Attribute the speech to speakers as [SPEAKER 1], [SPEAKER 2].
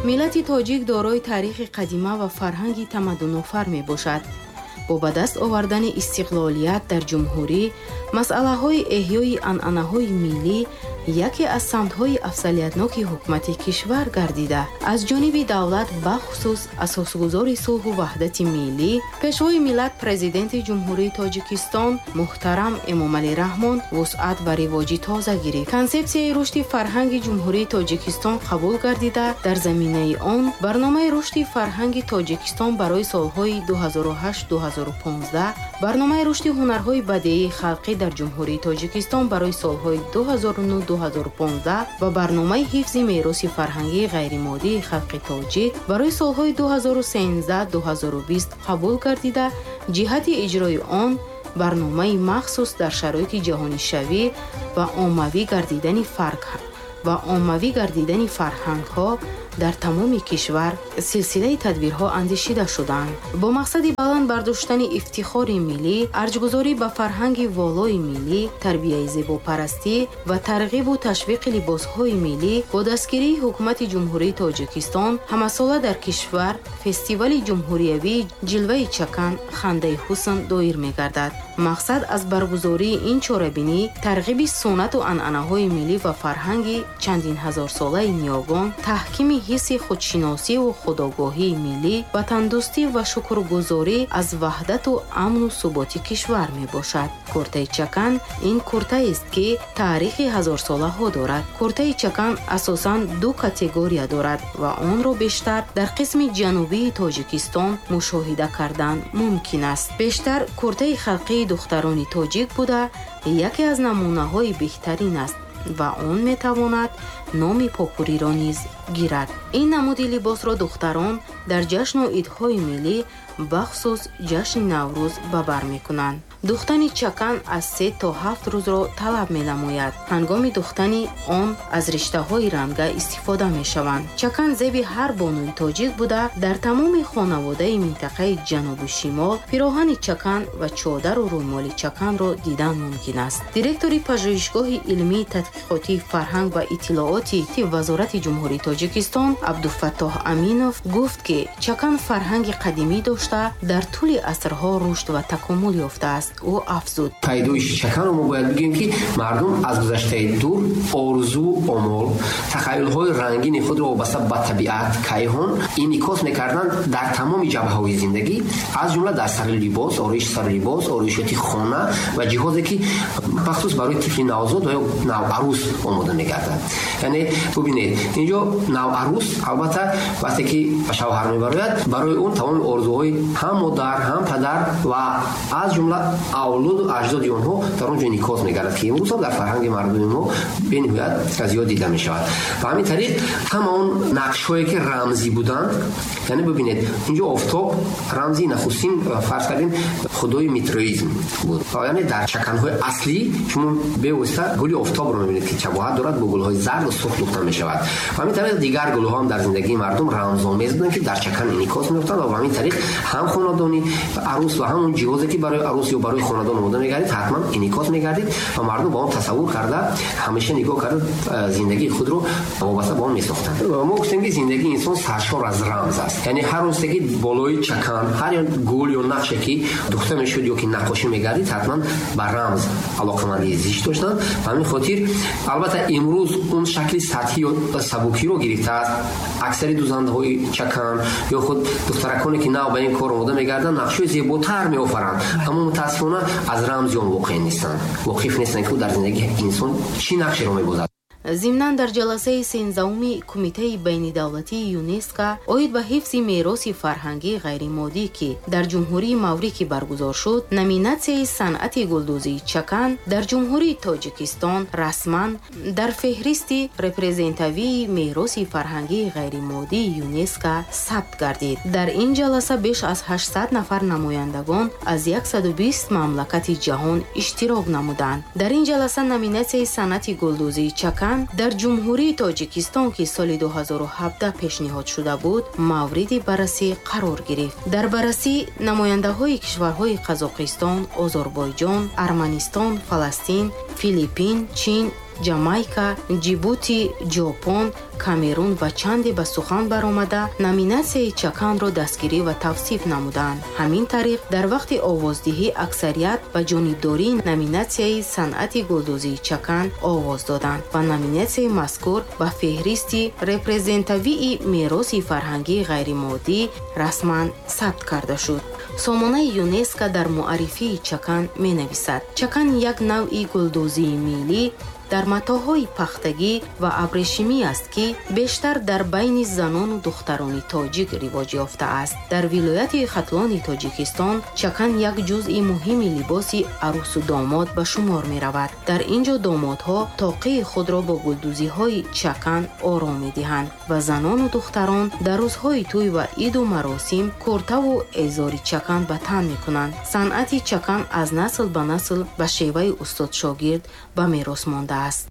[SPEAKER 1] Миллати тоҷик дорои таърихи қадима ва фарҳанги тамаддунофар мебошад. Бо ба даст овардани истиқлолият дар ҷумҳурӣ, масъалаҳои эҳёи анъанаҳои миллӣ яке аз самтҳои афзалиятноки ҳукумати кишвар гардида, аз ҷониби давлат, бахусус асосгузори сулҳу ваҳдати миллӣ, Пешвои миллат, Президенти Ҷумҳурии Тоҷикистон муҳтарам Эмомалӣ Раҳмон вусъат ва ривоҷи тоза гирифт. Консепсияи рушди фарҳанги Ҷумҳурии Тоҷикистон қабул гардида, дар заминаи он барномаи рушди фарҳанги Тоҷикистон барои солҳои 2008-2015, барномаи рушди ҳунарҳои бадеии халқӣ дар Ҷумҳурии Тоҷикистон барои солҳои 2009-2015 ва барномаи ҳифзи мероси фарҳангии ғайримоддии халқи тоҷик барои солҳои 2013-2020 қабул гардида, ҷиҳати иҷрои он барномаи махсус дар шароити ҷаҳонишавӣ ва оммавӣ гардидани фарҳангҳо дар тамоми кишвар силсилаи тадбирҳо андешида шуданд. Бо мақсади баланд бардоштани ифтихори миллӣ, арҷгузорӣ ба фарҳанги волои миллӣ, тарбияи зебопарастӣ ва тарғибу ташвиқи либосҳои миллӣ, бо дастгирии Ҳукумати Ҷумҳурии Тоҷикистон ҳамасола дар кишвар фестивали ҷумҳуриявии «Ҷилваи чакан, хандаи ҳусн» доир мегардад. Мақсад аз баргузории ин чорабинӣ тарғиби суннату анъанаҳои миллӣ ва фарҳанги чандин ҳазорсолаи ниёгон, таҳкими ҳисси худшиносиву худогоҳии миллӣ, ватандӯстӣ ва шукргузорӣ аз ваҳдату амну суботи кишвар мебошад. Куртаи чакан ин куртаест, ки таърихи ҳазорсолаҳо дорад. Куртаи чакан асосан ду категория дорад ва онро бештар дар қисми ҷанубии Тоҷикистон мушоҳида кардан мумкин аст. Бештар куртаи халқии духтарони тоҷик буда, яке аз намунаҳои беҳтарин аст ва он метавонад номи попуриро низ гирад. Ин намуди либосро духтарон дар ҷашну идҳои миллӣ, бахусус ҷашни Наврӯз, ба бар мекунанд. Духтани чакан аз 3 то 7 рӯзро талаб менамояд. Ҳангоми духтани он аз риштаҳои ранга истифода мешаванд. Чакан зеби ҳар бонуи тоҷик буда, дар тамоми хонаводаи минтақаи ҷанубу шимол пироҳани чакан ва чодару рӯмоли чаканро дидан мумкин аст. Директори Пажӯҳишгоҳи илмии тадқиқотии фарҳанг ва иттилооти Вазорати Ҷумҳурии Тоҷикистон Абдуфаттоҳ Аминов гуфт, ки чакан фарҳанги қадимӣ дошта, дар тӯли асрҳо рушд ва такомул ёфтааст. Ӯ афзуд:
[SPEAKER 2] Пайдоиши чаканро мо бояд бигӯем, ки мардум аз гузаштаи дур орзу, омол, тахаюлҳои рангини худро вобаста ба табиат, кайҳон инъикос мекарданд дар тамоми ҷабҳаҳои зиндагӣ, аз ҷумла дар сари либос, ороиши сари либос, ороишоти хона ва ҷиҳозе, ки махсус барои тифли навзод ва ё наварӯс омода мегардад. Яъне бубинед, инҷо наварӯс, албатта, вақте ки ба шавҳар мебарояд, барои он тамоми орзуҳои ҳам модар, ҳам падар ва аз ҷумла авлоду аҷдоди онҳо дар он ҷо инъикос мегардад, ки имрӯз ҳам дар фарҳанги мардуми мо бениҳоят зиёд дида мешавад. Ба ҳамин тариқ ҳама он нақшҳое, ки рамзӣ буданд, яъне бубинед, инҷо офтоб рамзи нахустин, фарз кардем, худои митроизм буд. Яъне дар чаканҳои аслӣ шумо бевосита гули офтобро мебинед, ки шабоҳат дорад, бо гулҳои зарду сурх духта мешавад. Ба ҳамин тариқ дигар гулҳо ҳам дар зиндагии мардум рамзомез буданд, ки дар чакан инъикос меёфтанд, ва ба ҳамин тариқ ҳам хонадони арӯс ва ҳам он ҷиҳозе, ки барои арӯс ё барои хонадон омода мегардид, ҳатман инъикос мегардид ва мардум ба он тасаввур карда, ҳамеша нигоҳ карда, зиндагии худро вобаста ба он месохтанд. Мо гуфтем, ки зиндагии инсон саршор аз рамз аст. Яъне ҳар рӯзе, ки болои чакан ҳар як гул ё нақше, ки духта мешуд ё ки наққошӣ мегардид, ҳатман ба рамз алоқамандии зич доштанд. Ба ҳамин хотир, албатта, имрӯз он шакли сатҳӣ ё сабукиро гирифтааст. Аксари дузандаҳои чакан ё худ духтараконе, ки нав ба ин кор омода мегарданд, нақшҳои зеботар меофаранд, аммо мутаассифона аз рамзи он воқеъ нестанд, воқиф нестанд, ки ӯ дар зиндагии инсон чӣ нақшеро мебозад.
[SPEAKER 1] Зимнан, дар ҷаласаи 13-уми Кумитаи байнидавлатии ЮНЕСКО оид ба ҳифзи мероси фарҳангии ғайримоддӣ, ки дар Ҷумҳурии Маврикӣ баргузор шуд, номинатсияи санъати гулдӯзии чакан дар Ҷумҳурии Тоҷикистон расман дар феҳристи репрезентативии мероси фарҳангии ғайримоддии ЮНЕСКО сабт гардид. Дар ин ҷаласа беш аз 800 нафар намояндагон аз 120 мамлакати ҷаҳон иштирок намуданд. Дар ин ҷаласа номинатсияи санъати гулдӯзии чакан дар Ҷумҳурии Тоҷикистон, ки соли 2017 пешниҳод шуда буд, мавриди баррасӣ қарор гирифт. Дар баррасӣ намояндаҳои кишварҳои Қазоқистон, Озарбойҷон, Арманистон, Фаластин, Филиппин, Чин, Ҷамайка, Ҷибути, Ҷопон, Камерун ва чанде ба сухан баромада, номинатсияи чаканро дастгирӣ ва тавсиф намуданд. Ҳамин тариқ, дар вақти овоздиҳӣ аксарият ба ҷонибдории номинатсияи санъати гулдӯзии чакан овоз доданд ва номинатсияи мазкур ба феҳристи репрезентавии мероси фарҳангии ғайримоддӣ расман сабт карда шуд. Сомонаи ЮНЕСКО дар муаррифии чакан менависад: чакан як навъи гулдӯзии миллӣ дар матоъҳои пахтагӣ ва абрешимӣ аст, ки бештар дар байни занону духтарони тоҷик ривоҷ ёфтааст. Дар вилояти Хатлони Тоҷикистон чакан як ҷузъи муҳими либоси арӯсу домод ба шумор меравад. Дар ин ҷо домодҳо тоқии худро бо гулдӯзиҳои чакан ором медиҳанд ва занону духтарон дар рӯзҳои тӯй ва иду маросим куртаву эзори чакан ба тан мекунанд. Санъати чакан аз насл ба насл ба шеваи устод-шогирд ба мерос мондааст.